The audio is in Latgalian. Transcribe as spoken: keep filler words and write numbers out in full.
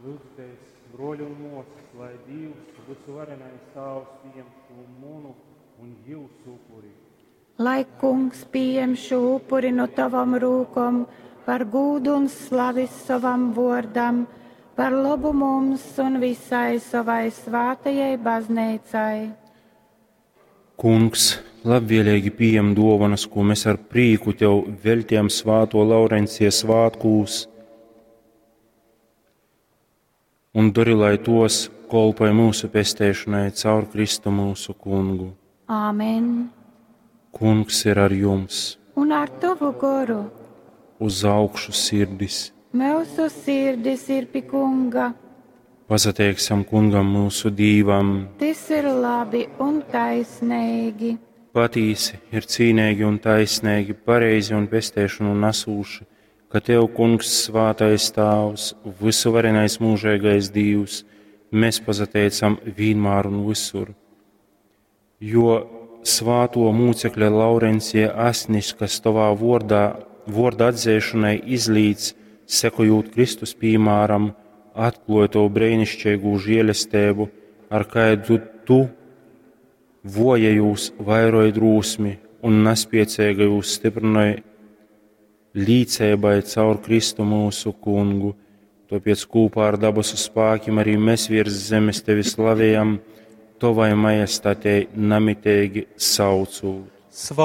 Lyudzitēs, bruoļi un muosys, lai Dīvs, vysuvarenais Tāvs, pījem šū munu un jiusu upuri. Lai Kungs pījem šū upuri nu tovom rūkom par gūdu un slavi sovam vuordam, par lobu mums un visai sovai svātajai bazneicai. Kungs, labvēlīgi pījem duovanas, ko mēs ar prīku tev veļtījam svāto Laurencija svātkūs, un dori, lai tos kolpoj mūsu pesteišanai caur Kristu mūsu kungu. Āmen. Kungs ir ar jums, Un ar tavu goru uz augšu sirdis. mūsu sirdis ir pi Kunga. Pasateiksim kungam mūsu Dīvam. Tas ir labi un taisnīgi. Patīsi ir cīnīgi un taisnīgi, pareizi un pesteišanu nesūši, ka Tev, Kungs, svātais Tāvs, visuvarenais mūžīgais Dīvs, mēs pasateicam vienmēr un visur. Jo svāto mūcekļa Laurencija asnis, kas tavā vordā, vorda atzēšanai izlīdz, sekojot Kristus piemēram, atklāja tavu brēnišķīgu žēlestību, ar kādu tu vojajūs vairoja drūsmi un nespiecīgajūs stiprināja līdzēbai caur Kristu mūsu kungu. Tāpēc kopā ar dabasu spēkiem arī mēs virs zemes tevi slavējam, tavai majestātei namitīgi saucot. Svā